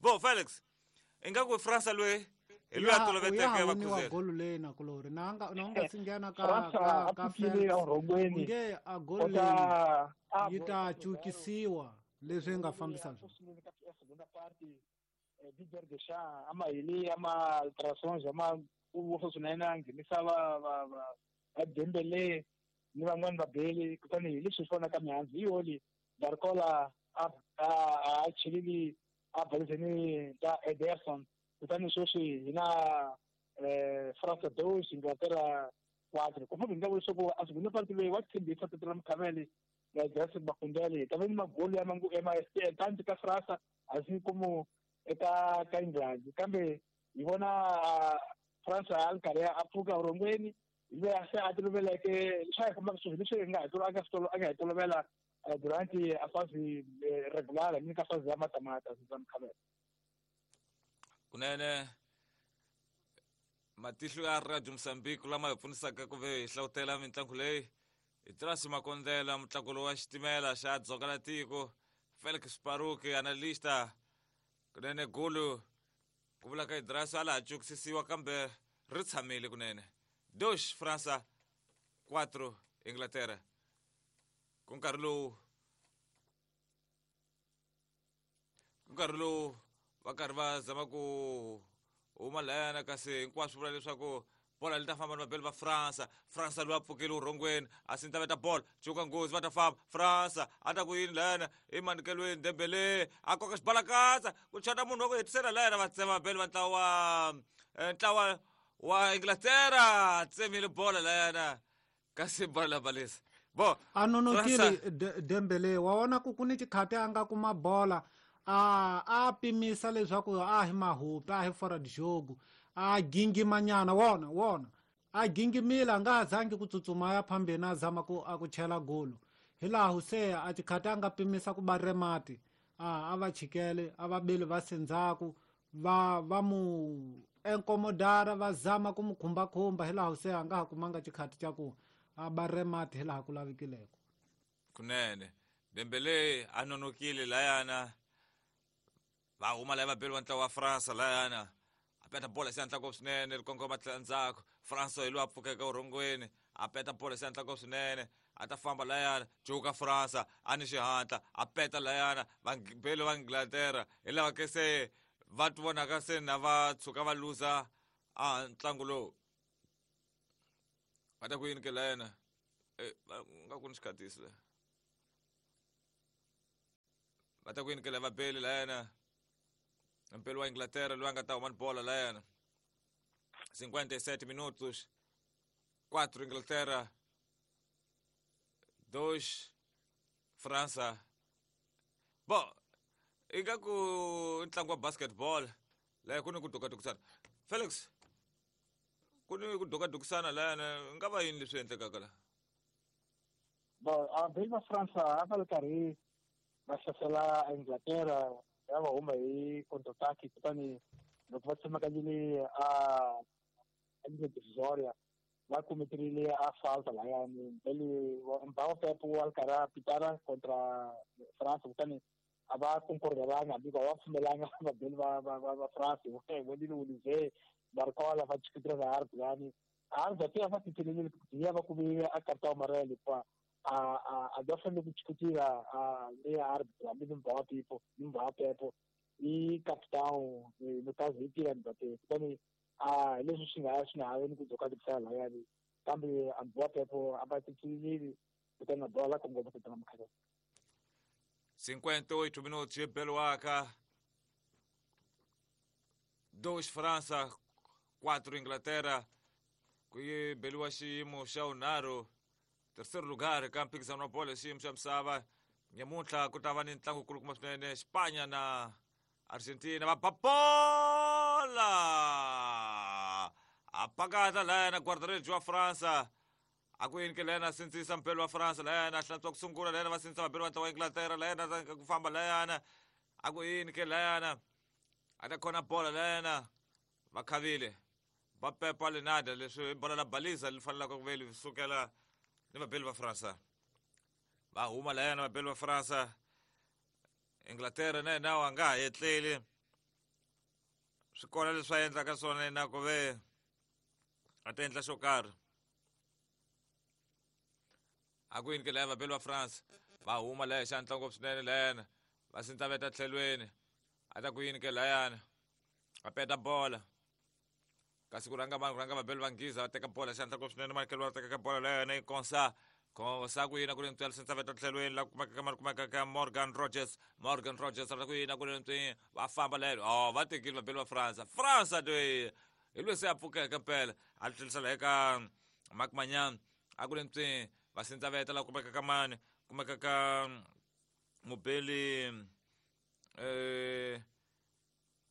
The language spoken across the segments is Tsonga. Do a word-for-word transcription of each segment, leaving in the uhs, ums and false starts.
Bo Felix ingaku Fransa loyi hi loyi a toloveteke va kuzela golu leyi na kulori na nga na nga singena ka ka ka Felix nge a golu leyi yi ta cukisiwa leswi nga fambisa swona Didier Deschamps ama hili ama alterações ama u swinene a nghenisa va va va Dembele ni van'wani va Bale kutani hi leswi swi vonaka mihandzu hi yoli Barcola a a a chelili a balizeni ta Ederson kutani sweswi hi na eh France dois Inglaterra quatro ku famba hi nga leswaku a segunda parte leyi wa tshembisa Tottenham Mkhameli ya Jesse Makundele ta va ni magoli ya mangu M S T tanti ka France assim como eka ka England kambe hi vona France a ri karhi a pfuka vurhongweni hi loyi a se a toloveleke leswi a hi fambaka sweswi leswi hi nga hi a nga swi a nga hi tolovela durante a fase regular ni ka fase ya matamata za Mkhameli. Kunene matihlo ya Radio Mozambique lama hi pfunisaka ku ve hi hlawutela mitlangu leyi hi Trasi Makondela mutlangu wa xitimela xa dzonga la tiko Felix Paruki analista kunene gulu ku vula ka Idrasa a laha cukisisiwa kambe ri tshamile kunene dois França quatro Inglaterra ku nkarhi lowu ku nkarhi lowu va karhi va zama ku huma layana kasi hinkwaswo vula leswaku bola li ta famba ni vabeli va Fransa Fransa loyi a pfukile urhongweni a sinta veta bola cuka nghozi va ta famba Fransa a ta ku yini layana emanikelweni Dembele a koka xibalakatsa ku chata munhu wa ku hetisela layana va tsema vabeli va ntlawa wa ntlawa wa Inglaterra tsemile bola layana kasi bola la balisa bo a nonokile Dembele wa vona ku ku ni xikhati a nga kuma bola a a pimisa leswaku a hi mahupi a hi fora de jogo a gingimanyana wona wona a gingimile a nga ha zangi ku tsutsuma ya phambeni a zama ku a ku chela golo hi laha se a xikhati a nga pimisa ku ba remati a a va chikele a va beli va sendzhaku va va mu enkomodara va zama ku mu khumbakhumba hi laha se a nga ha kumanga xikhati xa ku a ba remati hi laha ku lavikileko kunene Dembele a nonokile layana va huma laya vabeli va ntlawa wa Fransa layana a peta bola se antla ngopfu swinene ri kongoma tlhela ndzhaku Fransa hi loyi a pfukeke urhongweni a peta bola se antla ngopfu swinene a ta famba layana cuka Fransa a ni xihatla a peta layana vabeli va Inglaterra hi lava ke se va ti vonaka se na va tshuka va luza a ntlangu lowu va ta ku yini ke layana nga ku ni xikhatisi la va ta ku yini ke la vabeli layana mpelo wa Inglaterra loyi a nga ta huma ni bola layana cinquenta e sete minutos quatro Inglaterra dois França bo ingaku ntlangu wa basketball laya ku ni ku dukadukisana Felix ku ni ku dukadukisana layana nga va yini leswi endlekaka la bo a beli va Fransa a va ri karhi va hlasela Inglaterra ya va huma hi contra-attaque kutani loko va tsemakanyile a a ligne divisoria va kumeterile a falta layani mbeli Mbawa Pepo wa ri karhi a pitara contra France kutani a va concordelanga hambi va pfumelanga vabeli va va va va France vonile Olivier Barcola va chikitira na árbitro lani árbitro até va titelelile ya va kume a cartão amarelo hikuva a a a va fanele ku chikutira a le árbitro hambi ni Mbawa Pepo ni Mbawa Pepo i capitão no caso i Kylian Mbappé kutani a leswi swi nga swi nga ha ni ku dukadukisana layani kambe a Mbawa Pepo a va titelelile kutani na bola kongoma ku tlanga Mkhameli cinquenta e oito minutos Beluaca dois França quatro Inglaterra ku yi beliwa xiyimo xa vunharhu terceiro lugar ka mphikizano wa bolo xiyimo xa misava nyamuntlha ku ta va ni ntlangu kulukumba swinene Spanya na Argentina va ba bola a pakata layana guarda-redes wa França a ku yini ke layana sindzisa mpelo wa Fransa layana hlantswa ku sungula layana va sindzisa vabeli va ntlawa wa Inglaterra layana ku famba layana a ku yini ke layana a ta khona bola layana va khavile va pepa Lenada leswi bola la balisa li fanelaka ku ve li sukela ni vabeli va Fransa va huma layana vabeli va Fransa Inglaterra na yena a nga ha etleli Swi kona leswi a endlaka swona na ku ve a ta endla xo karhi. A ku yini ke laya vabeli va France va huma laya hi xihatla ngopfu swinene layana va sindzaveta tlhelweni a ta ku yini ke layana a peta bola kasi ku rhanga vanhu ku rhanga vabeli va Nghiza va teka bola xihatla ngopfu swinene Michael va teka bola layana yi konsa konsa ku yini ku ri ntswela sindzaveta tlhelweni la kumeka ka mali kumeka ka Morgan Rogers Morgan Rogers a ku yini ku ri ntswi va famba lelo oh va tekile vabeli va France France loyi hi loyi se a pfukeke mpela a tlherisela eka Mark Manyan a ku ri ntswi va sindzaveta la kumeka ka mani kumeka ka mubeli eh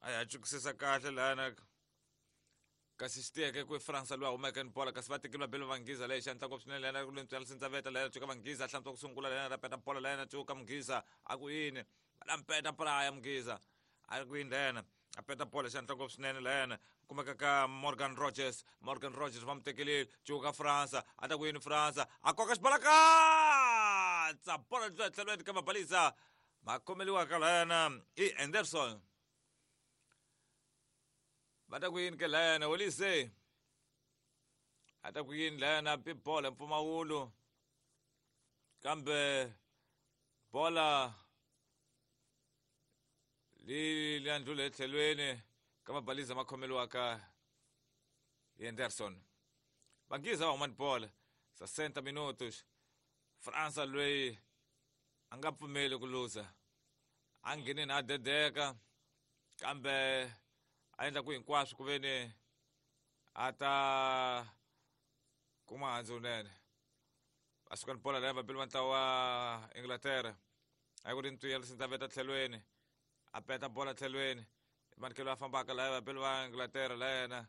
a ya chukisisa kahle lana kasi xi tiyeke ku France loyi a humeke ni bola kasi va tekile vabeli va Nghiza leyi xihatla ngopfu swinene lana ku ri ntswi sindzaveta lana cuka Vanghiza hlantswa ku sungula lana ra peta bola lana cuka Mughiza a ku yini va la mpeta praya Mughiza a ku yini lana a peta bola xihatla ngopfu swinene lana kumeka ka Morgan Rogers Morgan Rogers va mu tekelile cuka France a ta ku yini France a koka xibalakatsa bola tlhelo tlhelweni ka mabalisa ma khomeliwaka lana i Anderson va ta ku yini ke layana Olise a ta ku yini layana bi bola mpfumawulo kambe bola li li ndlule etlhelweni ka mabalisa ma khomeliwaka hi Anderson Vanghiza va huma ni bola sessenta minutos França loyi a nga pfumeli ku luza a nghenini a dedeka kambe a endla ku hinkwaswo ku ve ni a ta kuma handzu wunene va suka ni bola leyi vabeli va ntlawa wa Inglaterra a ku ri ntwiya sindzaveta tlhelweni a peta bola tlhelweni manikelo a fambaka laya vabeli va Inglaterra la yena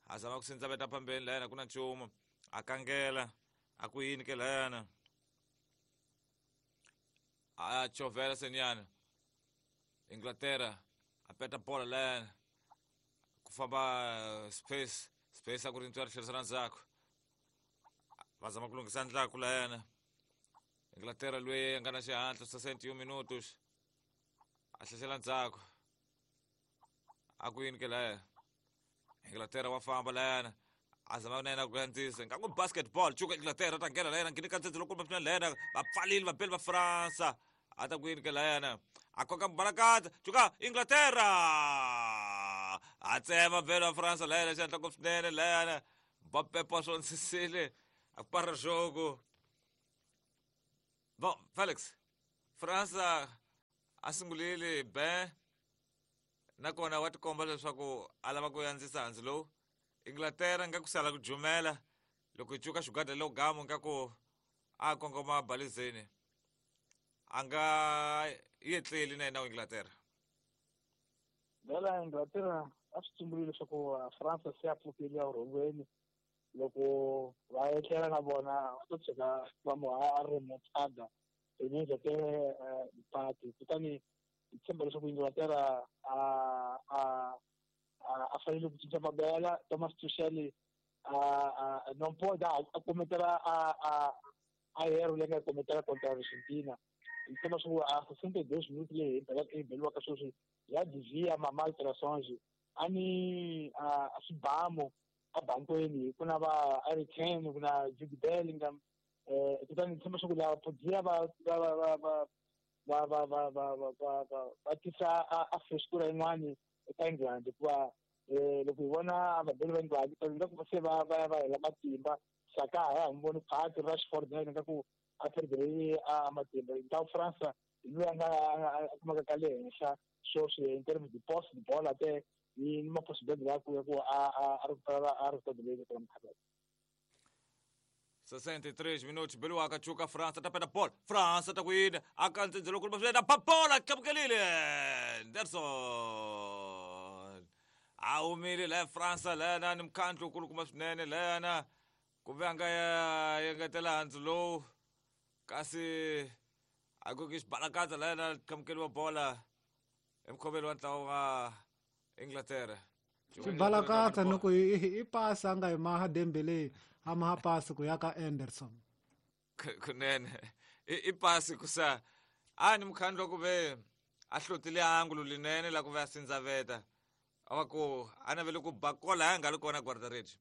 a zama ku sindzaveta phambeni la yena ku na nchumu a kangela a ku yini ke layana a chovela senyana Inglaterra a peta bola la yena ku famba space space a ku ri ntswari tlherisela ndzhaku va zama ku lunghisa ndlaku la yena Inglaterra loyi a nga na xihatla sessenta e um minutos a tlhela ndzhaku a ku yini ke laya Inglaterra wa famba layana a zama na yena ku andzisa nga ku basketball cuka Inglaterra ta nghena layana ngheni ka ndzedze loko va layana va pfalile vabeli va France a ta ku yini ke layana a koka balakatsa cuka Inglaterra a tsema vabeli va France layana xihatla ngopfu swinene layana Mbappé swo nsisile a para jogo bon Felix France a sungulile ben nakona wa tikomba leswaku a lava ku andzisa handzu lowu Inglaterra nga ku sala ku jumela loko yi cuka xigwada lowu gamu nga ku a kongoma balizeni a nga yetleli na yena wa Inglaterra vela Inglaterra a swi tsumbulile leswaku France se a pfukile vurhongweni loko va etlela na vona va ta tshuka va mu a ri mutsada enezete pati kutani hi tshemba leswaku Inglaterra a a a fanele ku cinca mabela Thomas Tuchel a a não pode a cometer a a a erro leyi nga cometela contra Argentina hi tshemba swa ku a sessenta e dois minutos leyi hi beliwaka sweswi ya devia ma alterações a ni a swibamu a bankweni ku na va Harry Kane ku na Jude Bellingham eh kutani tshemba swa ku lava podia va va va va va va va va va va va va tisa a frescura yin'wani eka England hikuva eh loko hi vona vabeli va England nga ku se va va va hela matimba Saka a ya ha n'wi voni phati Rashford na yena nga ku a perdere a matimba ntlawa France hi loyi a nga a kumaka ka le henhla sweswi in terms de posse de bola te ni ma possibilidade ya ku ya ku a a a recupera a recupera ka mkhaba sessenta e três minutos beliwaka cuka France ta peta bola France ta ku yini a ka ndzedzelo kulu swinene pa bola tlamukelile Anderson a humile la France lana ni mkhandlu kulukumba swinene lana ku ve a nga ya engetela handzu lowu kasi a ku ki xibalakatsa lana tlamukeliwa bola emukhoveli wa ntlawa wa Inglaterra xibalakatsa ni ku i pasi a nga yi maha Dembele a maha pasi ku ya ka Anderson kunene i pasi ku sa a ni mukhandlu wa ku ve a hlotile angulo linene la ku ve a sindzaveta A va ku a navele ku ba kola a nga ri kona guarda-redes.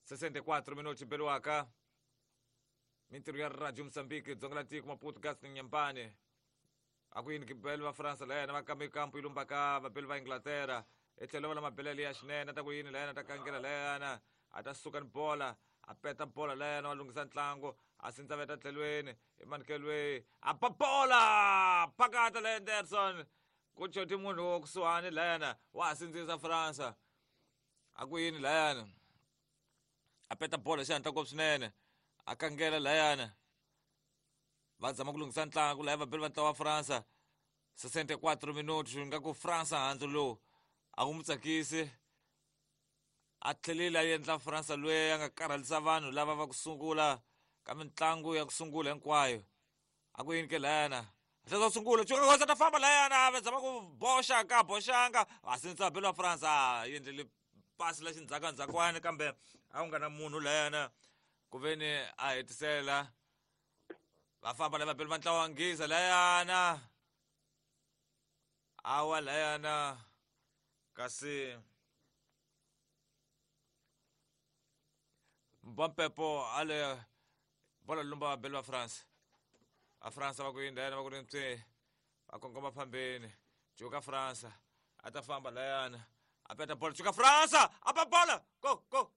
sessenta e quatro minutos beliwaka mintirho ya Radio Mozambique dzonga la tiko Maputo Gas Nyambane. A ku yini beli va Fransa la yena va kambe kampu yi lumbaka vabeli va Inglaterra etlhelo va la mabelele ya xinene a ta ku yini la yena ta kangela la yena a ta suka ni bola a peta bola la yena va lunghisa ntlangu a sindza veta tlhelweni emanekelweni a ba bola phakata la Henderson ku choti munhu wo kusuhani la yena wa ha sindzisa Fransa a ku yini la yena a peta bola xihatla ngopfu swinene a kangela la yena va zama ku lunghisa ntlangu laha vabeli va ntlawa wa Fransa sessenta e quatro minutos nga ku Fransa handzu lowu a wu mu tsakisi a tlhelile a endla Fransa loyi a nga karhalisa vanhu lava va ku sungula ka mitlangu ya ku sungula hinkwayo a ku yini ke layana a tlhela sungula cuka kosa ta famba layana va zama ku boxa ka boxanga a sindza vabeli va Fransa a endlele pasi la xindzhakandzhakwani kambe a ku nga na munhu layana ku veni a hetisela va famba la vabeli va ntlawa wa Nghiza layana awa layana kasi Mbampepo ale bola lumba vabeli va France a France va ku yini layana va ku ri ntswe va kongoma phambeni cuka Fransa a ta famba layana a peta bola cuka Fransa a ba bola go go